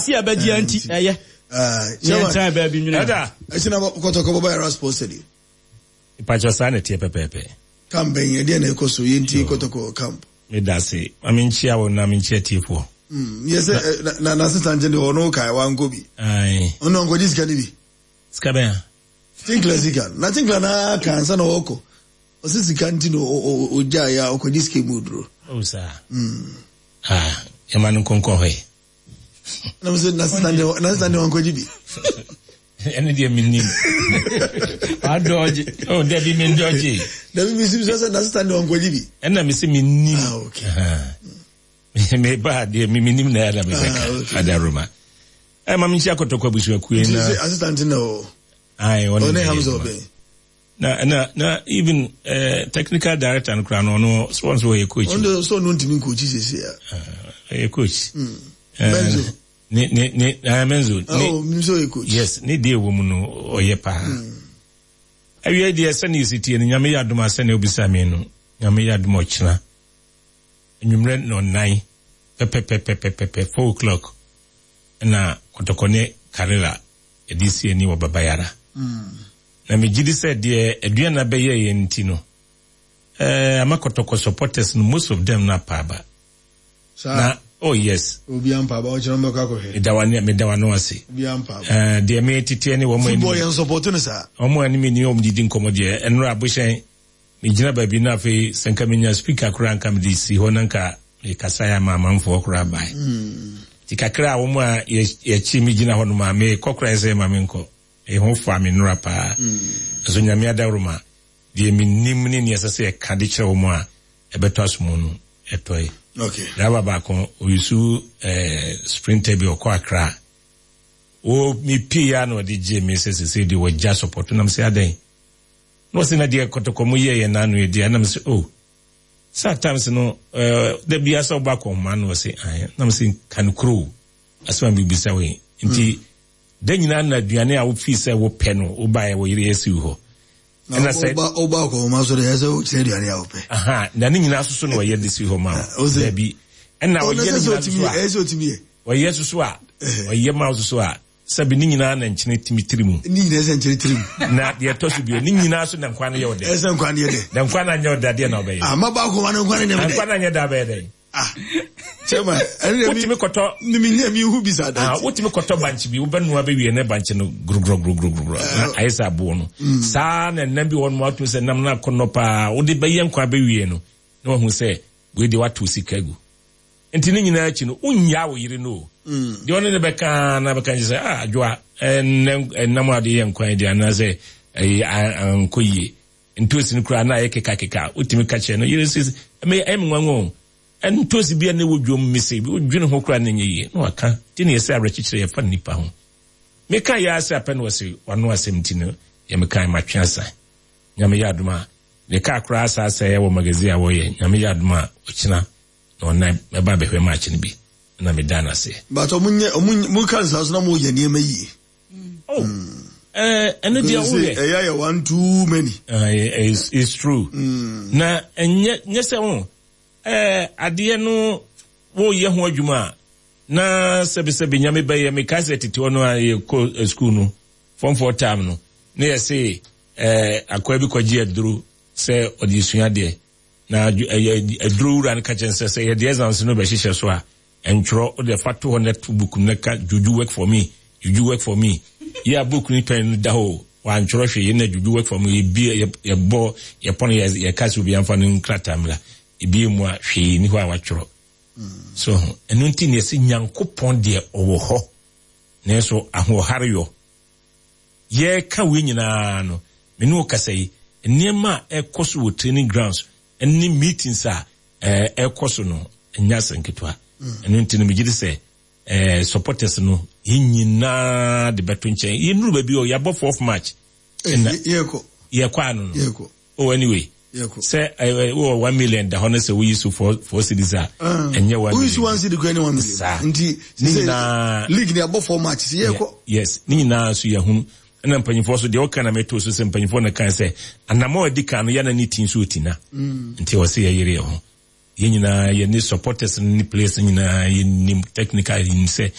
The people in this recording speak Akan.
Se yɛbɛgye a nti ɛyɛ. Ne yɛntena baabi nwene ho. Ɛda. Ɛkyina Kɔtɔkɔ bɔbɔ Era Sports Stadium. Mpakyɛw saa na ɛteɛ pɛpɛɛpɛ. Camp bɛn ɛdeɛn na ɛkɔ so yɛntie Kɔtɔkɔ camp. Medase. Ma menkyia wo na menkyia atiefoɔ. Mm, yɛ sɛ na na sista nkyɛn deɛ ɔno kae wankɔ bi. Ae. Ɔno ɔnkɔgye sika no bi. Sika bɛn a? Tinkler sika. Na Tinkler na aka ansa na ɔkɔ. Ɔsɛ sika nti na ɔgyaeɛ a ɔkɔgye sika mu duro. Oh saa. Mm. Ah, yɛma no nkonkɔ hɔ yi. Na sɛ na sista deɛ na sista deɛ ɔnkɔgye bi. Ɛne deɛ mennim. Adɔgye. Oh, dabi mendɔgye. Dabi mesim sɛ sɛ na sista deɛ ɔnkɔgye bi. Ɛna mese mennim. Ah, okay. Meba deɛ menim na ɛna mebɛka. Ah, okay. Adaroma. Ɛma menkyia Kɔtɔkɔ abusuakuo yi na. Assistant na o. Aye, ɔne Ɔne Hamza Ɔbɛn. Na na na even technical director no koraa no ɔno sɛ ɔno sɛ ɔyɛ coach. Ɔno deɛ sɛ ɔno ntumi nkochi sese a. Ɔyɛ coach. Menzo. Ne ne ne Menzo. Ne, oh, nim sɛ ɔyɛ coach. Yes, ne deɛ ɛwɔ mu no ɔyɛ paa. Awiei deɛ sɛnea ɛsi tie no, Nyame yɛ adom a sɛnea wobisa me no, Nyame yɛ adom a ɔkyena anwummerɛ nnɔnnan pɛpɛpɛpɛpɛpɛ, 4 o'clock, ɛna Kɔtɔkɔ ne Karela yɛde si ani wɔ Babayara. Na megye di sɛ deɛ Aduana bɛyɛɛ yɛn nti no, eh, ama Kɔtɔkɔ supporters no, most of them no apa aba. Saa. Na, oh yes. Obi ampa aba, ɔkyerɛ mbɛkɔ akɔhwɛ. Meda wa meda wa no ase. Obi ampa aba. Eh, deɛ me teteɛ ne wɔn Football yɛn support no saa. Wɔn a ne me ni wɔn didi nkɔmɔ deɛ, ɛnora abohyɛn, me gyina baabi na afei sɛ nka menya speaker koraa nka mede si hɔ na nka me kasa yɛ ama amanfoɔ koraa bae. Ti kakra a wɔn a yɛkyi me gyina hɔ nom a me kɔ koraa sɛ ma me nkɔ. Me ho fa me nora paa. Nso Nyame adaworoma, deɛ me nim ne nea ɛsɛ sɛ yɛka de kyerɛ wɔn a ɛbɛtɔ asomu no, ɛtɔe. Okay. Driver baako, ɔyusu eh, sprinter bi ɔkɔ Accra. Wo me pii ya na ɔde gye me sɛ sese deɛ wɔgya support nam sɛ adɛn. Na ɔsɛ na deɛ kɔtɔkɔ mu yɛ yɛn n'ano yɛ deɛ nam sɛ oh. Sɛ at times no, eh, da bia sɛ ɔba akɔnhoma na ɔsɛ ahe nam sɛ ka no kuro asɛm a mebisa wo yi. Nti da nyinaa na aduane a wofii sɛ wopɛ no wobaeɛ wo yere asi wo hɔ. Na woba woba akɔnhoma so deɛ ɛsɛ wokyerɛ aduane a wopɛ. Aha, na ne nyinaa soso na ɔyɛ de si hɔ ma wo. Dabi. Ɛna ɔyɛ ne nyinaa soso a. Ɛsɛ otumi yɛ. Ɔyɛ soso a. Ɔyɛ ma wo soso a. Sɛbi ne nyinaa na nkyene tumi tiri mu. Ne nyinaa sɛ nkyene tiri mu. Na deɛ ɛtɔ so bio ne nyinaa so na nkwa no yɛ ɔdɛ. Ɛsɛ nkwa no yɛ dɛ. Na nkwa no anyɛ ɔdɛ adeɛ na ɔbɛyɛ. Ah, maba akɔnhoma no nkwa no nyɛ dɛ. Nkwa no anyɛ dɛ abɛyɛ dɛ. Ah, chairman, ɛne deɛ wotumi kɔtɔ. Ne mi nyɛ mi hu bi saa da. Ah, wotumi kɔtɔ bankye bi wobɛnoa bɛwie ne bankye no gorogorogorogorogoro na eh, ayɛ sɛ aboɔ no. Saa na nam bi wɔ nom atumi sɛ nam no akɔnnɔ paa wode bɛyɛ nkwa bɛwie no na wahu sɛ wei deɛ wato sika agu. Nti ne nyinaa akyi no wonnyaa wo yere no o. Deɛ ɔne ne bɛka na bɛka nkyɛ sɛ ah adwoa ɛnam a wode yɛ nkwan deɛ anaasɛ ɛyɛ ankɔ yie. Ntoosi no koraa na ayɛ kekakeka. Wotumi ka kyerɛ no yere sɛ, ɛmɛ ɛyɛ me nwanwa o. Ntoosi bi a na ɛwɔ dwom mese wodwene ho koraa na ɛnyɛ yie. Na waka. Nti na yɛsɛ awerɛkyekyerɛ yɛfa nnipa ho. Meka yɛ ara sɛ apɛ na ɔse wano asɛm nti no yɛ mekae matwe asa. Nyame yɛ adom a ne kaa koraa asa asɛe wɔ magazine a wɔyɛ. Nyame yɛ adom a ɔkyena na ɔnan mɛba abɛhwɛ match no bi na meda no ase. But ɔmo nyɛ ɔmo mo ka nsa so na mo yɛ nneɛma yie. Oh, ɛno deɛ woyɛ. Ɛyɛ ayɛ one too many. It's true. Na ɛnyɛ nyɛ sɛ ho adeɛ no woyɛ ho adwuma a na sɛbisɛbi nyame bɛyɛ mekae sɛ tete hɔ no a yɛkɔ school no form four term no na yɛse akoa bi kɔgye aduro sɛ ɔde sua adeɛ na aduro wura no ka kyɛn sɛ sɛ yɛde exams no bɛhyehyɛ so a Ntwerɛ, wo deɛ fa to hɔ na to book no na ka juju work for me, juju work for me. Yɛ a book no pɛn no da hɔ o, wantwerɛ hwee na juju work for me, yɛbie, yɛ, yɛbɔ, yɛpɔn, yɛ, yɛka sɛ obiara mfa no nkrataa mmra. Ebie mu a, hwee nni hɔ a watwerɛ. So ho, ɛno nti na yɛse Nyankopɔn deɛ ɔwɔ hɔ, nanso ahoɔhareyɔ. Yɛreka wei nyinaa no, me ne wo kasa yi, nneɛma a ɛkɔ so wɔ training grounds ne meetings a ɛkɔ so no nyɛ asɛm ketewa. Ɛno nti no megye di sɛ supporters no yɛn nyinaa de bɛto nkyɛn. Yɛnnuru baabi o, yɛabɔ fourth match. Ɛna yɛkɔ. Yɛkɔ ano no. Yɛkɔ. Oh anyway. Yɛkɔ. Sɛ wowɔ 1 million da hɔ no sɛ woyi so 4 cedis a, ɛnyɛ 1 million. Woyi so 1 cedi kura ne 1 million. Saa. Nti ne nyinaa league ni abɔ four match sɛ yɛkɔ. Yes, ne nyinaa nso yɛhunu. Ɛna mpanyinfoɔ so deɛ ɔka na meto so sɛ mpanyinfoɔ na kan sɛ anamɔ a ɛdi kan no yɛna ne ti nso ɔti na. Nti ɛwɔ sɛ yɛyere yɛn ho. Yɛn nyinaa yɛne supporters no ne players no nyinaa yɛnim technical yɛnim sɛ